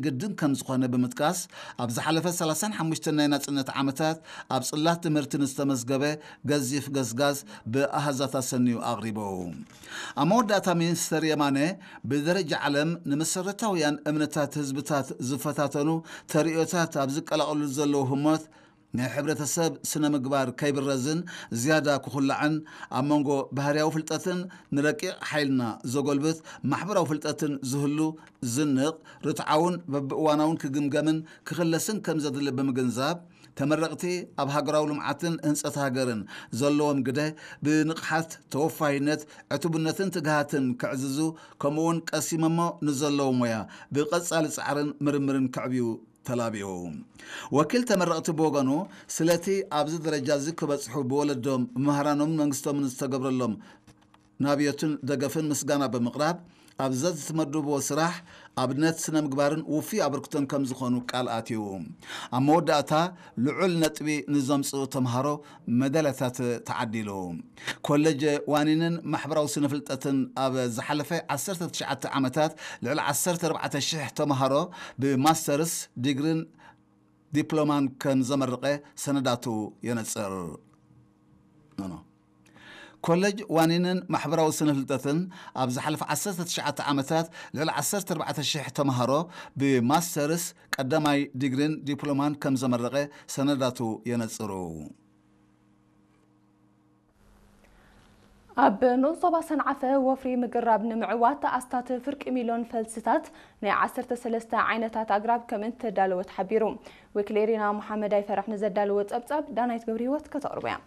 ግድን ከም ዝኾነ ብምጥቃስ፣ ኣብ ዝሓለፈ ሰላሳን ሓሙሽተን ናይ ናጽነት ዓመታት ኣብ ጽላት ትምህርቲ ንዝተመዝገበ ገዚፍ ገስጋስ ብኣሃዛት ኣሰንዩ ኣቕሪቡ። ኣብ መወዳእታ ሚኒስተር የማነ፣ ብደረጃ ዓለም ንመሰረታውያን እምነታት ህዝብታት ዝፈታተኑ ተርእዮታት ኣብ ዝቀላቐሉ ዘለዉ ህሞት፣ ናይ ሕብረተሰብ ስነ ምግባር ከይብረዝን ዝያዳ ክኹላዕን፣ ኣብ መንጎ ባህርያዊ ፍልጠትን ንረቂቕ ሓይልና ዘጎልብት ማሕበራዊ ፍልጠትን ዝህሉ ዝንቕ፣ ርትዓውን በብእዋናውን ክግምገምን ክኽለስን ከም ዘድሊ ብምግንዛብ፣ ተመረቕቲ ኣብ ሃገራዊ ልምዓትን ህንጸት ሃገርን ዘለዎም ግደ ብንቕሓት፣ ተወፋይነት፣ ዕቱብነትን ትግሃትን ከዕዝዙ፣ ከምኡውን ቀሲሞሞ ንዘለዉ ሞያ ብቐጻሊ ጻዕርን ምርምርን ከዕብዩ ተላቢኡ። ወኪል ተመረቕቲ ብወገኑ፣ ስለቲ ኣብዚ ደረጃ እዚ ክበጽሑ ብወለዶም፣ ብመሃራኖምን መንግስቶምን ዝተገብረሎም ናብዮትን ደገፍን ምስጋና ብምቕራብ፣ ኣብ ዘዝትመድብዎ ስራሕ ኣብነት ስነ ምግባርን ውፉይ ኣበርክቶን ከም ዝኾኑ ቃል ኣትዩ። ኣብ መወዳእታ ልዑል ነጥቢ ንዘምጽኡ ተምሃሮ መዳልያታት ተዓዲሉ። ኮሌጅ ዋኒንን ማሕበራዊ ስነ ፍልጠትን ኣብ ዝሓለፈ ዓሰርተ ትሽዓተ ዓመታት ልዕሊ ዓሰርተ ኣርባዕተ ሽሕ ተምሃሮ ብማስተርስ ዲግሪን ዲፕሎማን ከም ዘመረቐ ሰነዳቱ የነጽር። ኖ፣ ኖ። ኮሌጅ ዋኒንን ማሕበራዊ ስነ ፍልጠትን ኣብ ዝሓለፈ ዓሰርተ ትሽዓተ ዓመታት ልዕሊ ዓሰርተ ኣርባዕተ ሽሕ ተምሃሮ ብማስተርስ ቀዳማይ ዲግሪን ዲፕሎማን ከም ዘመረቐ ሰነዳቱ የነጽሩ። ኣብ ንኡስ ዞባ ሰንዓፈ ወፍሪ ምግራብ ንምዕዋት ኣስታት ፍርቂ ሚልዮን ፈልስታት ናይ ዓሰርተ ሰለስተ ዓይነታት ኣግራብ ከም እተዳለወ ተሓቢሩ። ወኪል ኤሪና መሓመድ ኣይፈራሕ ንዘዳለወ ጸብጻብ ዳናይት ገብረ ህይወት ከተቕርቦ እያ።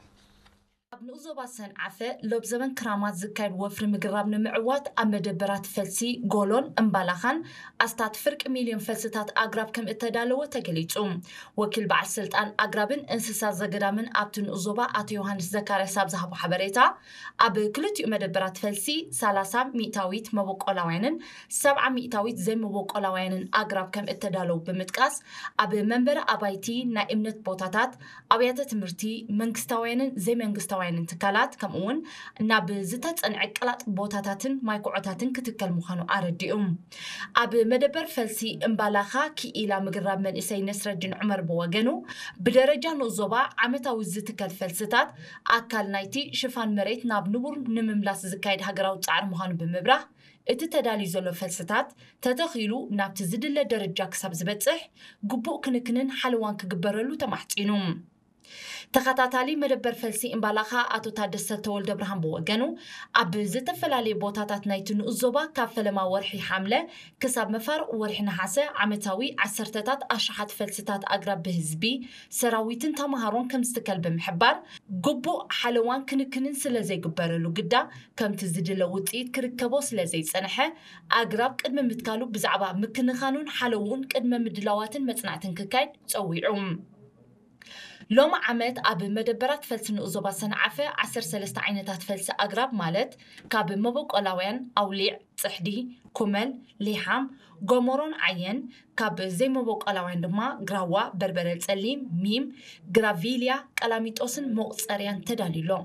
ኣብ ንኡስ ዞባ ሰንዓፈ ሎብ ዘበን ክራማት ዝካየድ ወፍሪ ምግራብ ንምዕዋት ኣብ መደበራት ፈልሲ ጎሎን እምባላኻን ኣስታት ፍርቂ ሚልዮን ፈልስታት ኣግራብ ከም እተዳለወ ተገሊጹ። ወኪል በዓል ስልጣን ኣግራብን እንስሳ ዘገዳምን ኣብቲ ንኡስ ዞባ ኣቶ ዮሃንስ ዘካርያስ ኣብ ዝሃቦ ሓበሬታ፣ ኣብ ክልቲኡ መደበራት ፈልሲ ሰላሳ ሚእታዊት መበቆላውያንን ሰብዓ ሚእታዊት ዘይመበቆላውያንን ኣግራብ ከም እተዳለዉ ብምጥቃስ፣ ኣብ መንበሪ ኣባይቲ፣ ናይ እምነት ቦታታት፣ ኣብያተ ትምህርቲ፣ መንግስታውያንን ዘይመንግስታውያንን ትካላት፣ ከምኡውን ናብ ዝተጸንዐ ቀላጥ ቦታታትን ማይኩዖታትን ክትከል ምዃኑ ኣረዲኡ። ኣብ መደበር ፈልሲ እምባላኻ ክኢላ ምግራብ መንእሰይ ነስረዲን ዑመር ብወገኑ፣ ብደረጃ ንኡስ ዞባ ዓመታዊ ዝትከል ፈልስታት ኣካል ናይቲ ሽፋን መሬት ናብ ንቡር ንምምላስ ዝካየድ ሃገራዊ ጻዕሪ ምዃኑ ብምብራህ፣ እቲ ተዳልዩ ዘሎ ፈልስታት ተተኺሉ ናብቲ ዝድለ ደረጃ ክሳብ ዝበጽሕ ግቡእ ክንክንን ሓለዋን ክግበረሉ ተማሕጺኑ። ተኸታታሊ መደበር ፈልሲ እምባላኻ ኣቶ ታደሰ ተወልደ ብርሃን ብወገኑ፣ ኣብ ዝተፈላለዩ ቦታታት ናይቲ ንኡስ ዞባ ካብ ፈለማ ወርሒ ሓምለ ክሳብ መፋርቕ ወርሒ ነሓሰ ዓመታዊ ዓሰርተታት ኣሽሓት ፈልስታት ኣግራብ ብህዝቢ፣ ሰራዊትን ተምሃሮን ከም ዝትከል ብምሕባር፣ ግቡእ ሓለዋን ክንክንን ስለ ዘይግበረሉ ግዳ ከምቲ ዝድለ ውጽኢት ክርከቦ ስለ ዘይጸንሐ፣ ኣግራብ ቅድሚ ምትካሉ ብዛዕባ ምክንኻኑን ሓለውኡን ቅድመ ምድላዋትን መጽናዕትን ክካየድ ጸዊዑ። ሎሚ ዓመት ኣብ መደበራት ፈልሲ ንኡስ ዞባ ሰንዓፈ ዓሰርተ ሰለስተ ዓይነታት ፈልሲ ኣግራብ ማለት ካብ መበቆላውያን ኣውሊዕ፣ ጽሕዲ፣ ኩመል፣ ሊሓም፣ ጎመሮን ዓየን፣ ካብ ዘይመበቆላውያን ድማ ግራዋ፣ በርበረ ጸሊም፣ ሚም፣ ግራቪልያ፣ ቀላሚጦስን መቑጸርያን ተዳልዩ ኣሎ።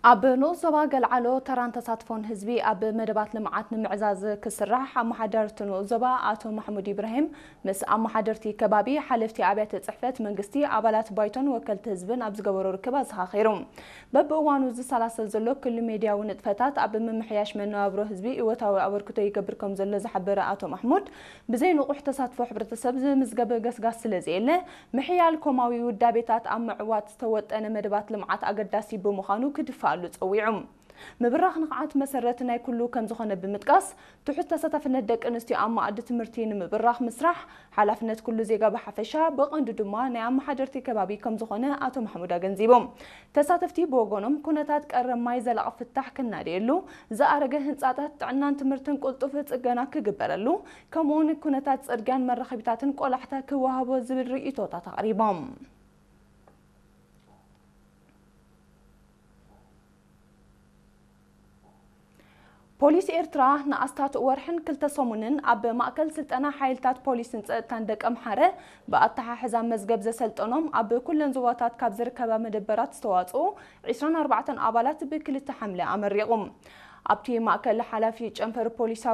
ኣብ ንኡስ ዞባ ገልዓሎ ተራን ተሳትፎን ህዝቢ ኣብ መደባት ልምዓት ንምዕዛዝ ክስራሕ ኣመሓደርቲ ንኡስ ዞባ ኣቶ ማሕሙድ ኢብራሂም ምስ ኣመሓደርቲ ከባቢ፣ ሓለፍቲ ኣብያተ ጽሕፈት መንግስቲ፣ ኣባላት ባይቶን ወከልቲ ህዝብን ኣብ ዝገበሮ ርክብ ኣዘኻኺሩ። በብእዋኑ ዝሰላሰል ዘሎ ክሉ ሜድያዊ ንጥፈታት ኣብ ምምሕያሽ መነባብሮ ህዝቢ እወታዊ ኣበርክቶ ይገብር ከም ዘሎ ዝሓበረ ኣቶ ማሕሙድ፣ ብዘይ ንቑሕ ተሳትፎ ሕብረተሰብ ዝምዝገብ ገስጋስ ስለ ዘየለ፣ ምሕያል ኮማዊ ውዳቤታት ኣብ ምዕዋት ዝተወጠነ መደባት ልምዓት ኣገዳሲ ብምዃኑ ክድፈኣሉ ጸዊዑ። ምብራኽ ንቕዓት መሰረት ናይ ኩሉ ከም ዝኾነ ብምጥቃስ፣ ትሑት ተሳታፍነት ደቂ ኣንስትዮ ኣብ መኣዲ ትምህርቲ ንምብራኽ ምስራሕ ሓላፍነት ኩሉ ዜጋ ብሓፈሻ፣ ብቐንዱ ድማ ናይ ኣመሓደርቲ ከባቢ ከም ዝኾነ ኣቶ ማሕሙድ ኣገንዚቦም። ተሳተፍቲ ብወገኖም፣ ኩነታት ቀረብ ማይ ዘላቒ ፍታሕ ክናደየሉ፣ ዝኣረገ ህንጻታት ጥዕናን ትምህርትን ቅልጡፍ ጽገና ክግበረሉ፣ ከምኡውን ኩነታት ጽርግያን መራኸቢታትን ቆላሕታ ክወሃቦ ዝብል ርእይቶታት ኣቕሪቦም። ፖሊስ ኤርትራ ንኣስታት ወርሕን ክልተ ሰሙንን ኣብ ማእከል ስልጠና ሓይልታት ፖሊስን ጸጥታን ደቀምሓረ ብኣተሓሕዛ መዝገብ ዘሰልጠኖም ኣብ ኩለን ዞባታት ካብ ዝርከባ መደበራት ዝተዋጽኡ ዕስራን ኣርባዕተን ኣባላት ብክልተ ሓምለ ኣመሪቑ። ኣብቲ ማእከል ሓላፊ ጨንፈር ፖሊሳዊ